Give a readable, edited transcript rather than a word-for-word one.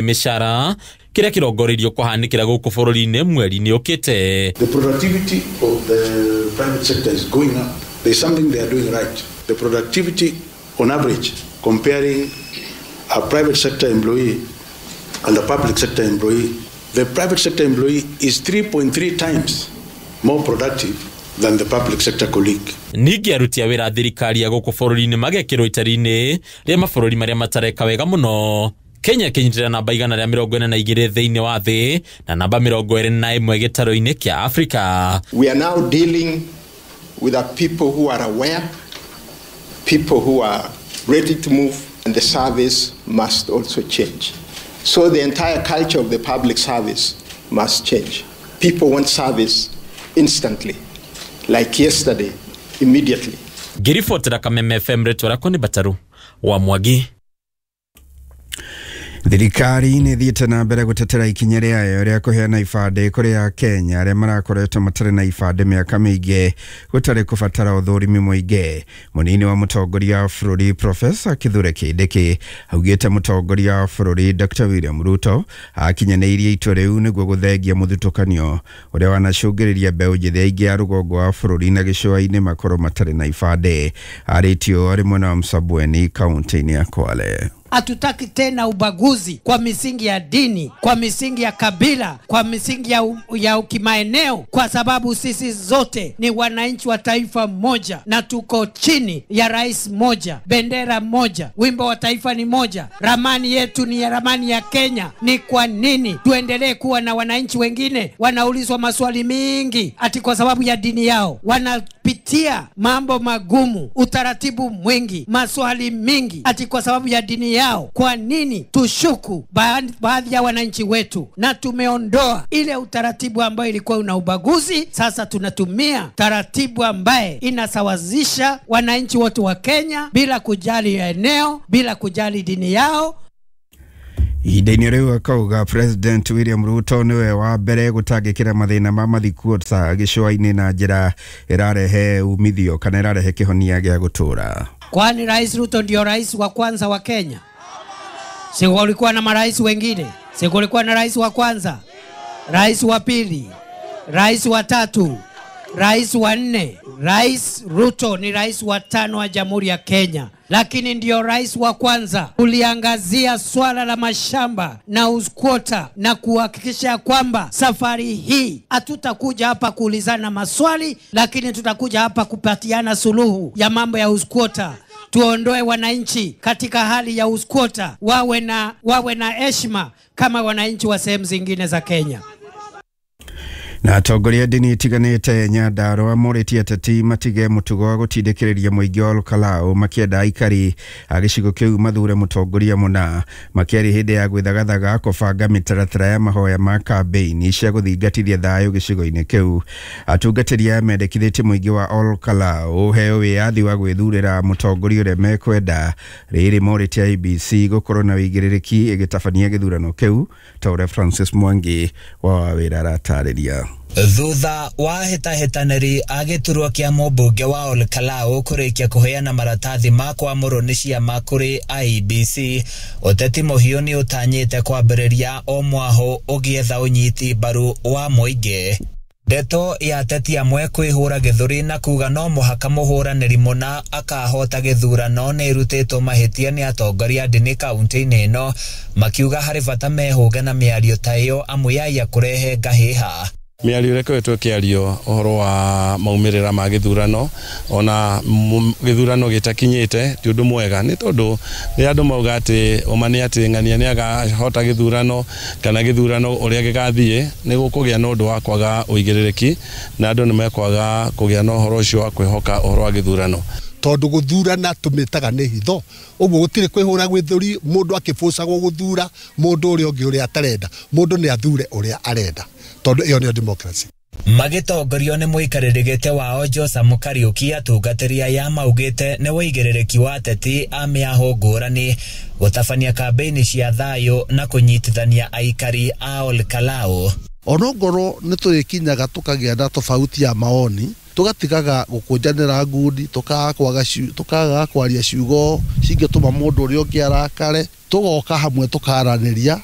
Mĩcara kĩrĩa kĩrongoreirio kũhanĩkĩra gũkũ bũrũri-inĩ mweri-inĩ ũkĩte. The productivity of the private sector is going up. There's something they are doing right. The productivity on average, comparing a private sector employee and a public sector employee, the private sector employee is 3.3 times more productive than the public sector colleague. Ningĩ aruti a wĩra thirikari ya gũkũ bũrũri-inĩ magekĩrwo itari-inĩ rĩa mabũrũri marĩa matareka wega mũno. Kenya ĩkĩnyitĩrĩra namba 142 thĩinĩ wa thĩ na namba 21 gĩtarũ-inĩ kĩa Afrika. We are now dealing with a people who are aware, people who are ready to move, and the service must also change. So the entire culture of the public service must change. People want service instantly, like yesterday, immediately. Ngĩribotera Kameme FM, rĩtwa rĩakwa nĩ Bataru wa Mwangi. Thirikari nĩ ĩthiĩte na mbere gũtetera ikinya rĩayo rĩa kũheana ibandĩ kũrĩ Akenya arĩa marakoretwo matarĩ na ibandĩ mĩaka mĩingĩ gũtarĩ kũbatara ũthũrimi mũingĩ. Mũnini wa mũtongoria wa bũrũri Profesa Kithure Kindiki augĩte mũtongoria wa bũrũri Dr William Ruto akinyanĩirie itua rĩu nĩguo gũthengia mũthutũkanio ũrĩa wanacũngĩrĩria mbeũ njĩthĩ aingĩ a rũgongo wa bũrũri na gĩcũa-inĩ makorwo matarĩ na ibandĩ. Arĩtio arĩ mwena wa Msambweni kaunti-inĩ ya Kwale. Hatutaki tena ubaguzi kwa misingi ya dini, kwa misingi ya kabila, kwa misingi ya kimaeneo, kwa sababu sisi zote ni wananchi wa taifa moja na tuko chini ya rais moja, bendera moja, wimbo wa taifa ni moja, ramani yetu ni ramani ya Kenya. Ni kwa nini tuendelee kuwa na wananchi wengine wanaulizwa maswali mingi ati kwa sababu ya dini yao? Wanapitia mambo magumu, utaratibu mwingi, maswali mingi ati kwa sababu ya dini yao. Kwa nini tushuku baadhi ya wananchi wetu? Na tumeondoa ile utaratibu ambayo ilikuwa una ubaguzi. Sasa tunatumia taratibu ambaye inasawazisha wananchi wote wa Kenya bila kujali eneo, bila kujali dini yao. Ihinda-inĩ rĩu akauga President William Ruto nĩwe wa mbere gũtangĩkĩra mathĩna ma mathikuota gĩcũa-inĩ na njĩra ĩrarehe umithio kana ĩrarehe kĩhonia gĩa gũtũũra. Kwani Rais Ruto ndio rais wa kwanza wa Kenya? Si kulikuwa na marais wengine? Si kulikuwa na rais wa kwanza, rais wa pili, rais wa tatu, rais wa nne? Rais Ruto ni rais wa tano wa Jamhuri ya Kenya, lakini ndio rais wa kwanza kuliangazia swala la mashamba na uskwota na kuhakikisha kwamba safari hii hatutakuja hapa kuulizana maswali, lakini tutakuja hapa kupatiana suluhu ya mambo ya uskwota. Tuondoe wananchi katika hali ya uskwota, wawe na heshima kama wananchi wa sehemu zingine za Kenya. Na atongoria ndini itiganĩte Nyandarũa morĩtie ateti matige mũtugo wa gũtindĩkĩrĩria mũingĩ wa Olkalau makĩenda aikari a gĩcigo kĩu mathure mũtongoria mũna. Makĩaria hĩndĩ ya gwĩthagathaga kũbanga mĩtaratara ya mahoya ma kambĩini cia gũthingatithia thayũ gĩcigo-inĩ kĩu. Atungatĩri aya mendekithĩtie mũingĩ wa Olkalau ũheo wĩyathi wa gwĩthurĩra mũtongoria ũrĩa mekwenda. Rĩrĩ morĩtie IEBC gũkorwo na wĩigĩrĩrĩki ĩgĩtabania gĩthurano kĩu ta ũrĩa Francis Mwangi wa wĩra aratarĩria. Thutha wa hĩtahĩtanĩri a gĩturwa kĩa mũmbunge wa Olkalau kũrĩkia kũheana maratathi ma kwamũrwo nĩ ciama kũrĩ IEBC, ũteti mũhiũ nĩ ũtanyĩte kwambĩrĩria o mwahũ ũgĩetha ũnyiti mbaru wa mũingĩ. Ndeto ya ateti amwe kwĩhũra gĩthũri na kuga no mũhaka mũhũranĩri mũna akahota gĩthurano nĩ ĩrutĩtwo mahĩtia nĩ atongoria a ndini kaunti-inĩ ĩno, makiuga harĩ bata mehũge na mĩario ta ĩyo amu yaiya kũrehe ngahĩha. Mĩario ĩrĩa ĩkoretwo ĩkĩario ũhoro wa maumĩrĩra ma gĩthurano ona gĩthurano gĩtakinyĩte ti ũndũ mwega, nĩ tondũ rĩrĩa andũ mauga atĩ ũma nĩ atĩ ng'ania nĩ akahota gĩthurano kana gĩthurano ũrĩa gĩgathiĩ, nĩ gũkũgĩa na ũndũ wa kwaga ũigĩrĩrĩki na andũ nĩ mekwaga kũgĩa na ũhoro ũcio wa kwĩhoka ũhoro wa gĩthurano. Tondũ gũthurana tũmĩtaga nĩ hitho, ũguo gũtirĩ kwĩhũra gwĩthũri mũndũ akĩbũcagwo gũthura mũndũ ũrĩa ũngĩ ũrĩa atarenda. Mũndũ nĩ athure ũrĩa arenda tondũ ĩyo nĩyo democracy. Magĩtongorio nĩ mũikarĩri gĩtĩ wao Josamu Kariuki, atungatĩri aya maugĩte nĩ ũigĩrĩrĩki wa ateti a mĩahũ ngũrani gũtabania kambĩini cia thayũ na kũnyitithania aikari a Olkalau. Onongorwo nĩ tũrĩkinyaga tũkagĩa na tofauti ya maoni, tũgatigaga gũkũnjanĩra ngundi, tũkaga kwaria ciugo cingĩtũma mũndũ ũrĩa ũngĩ arakare. Tũgoka hamwe, tũkaranĩria.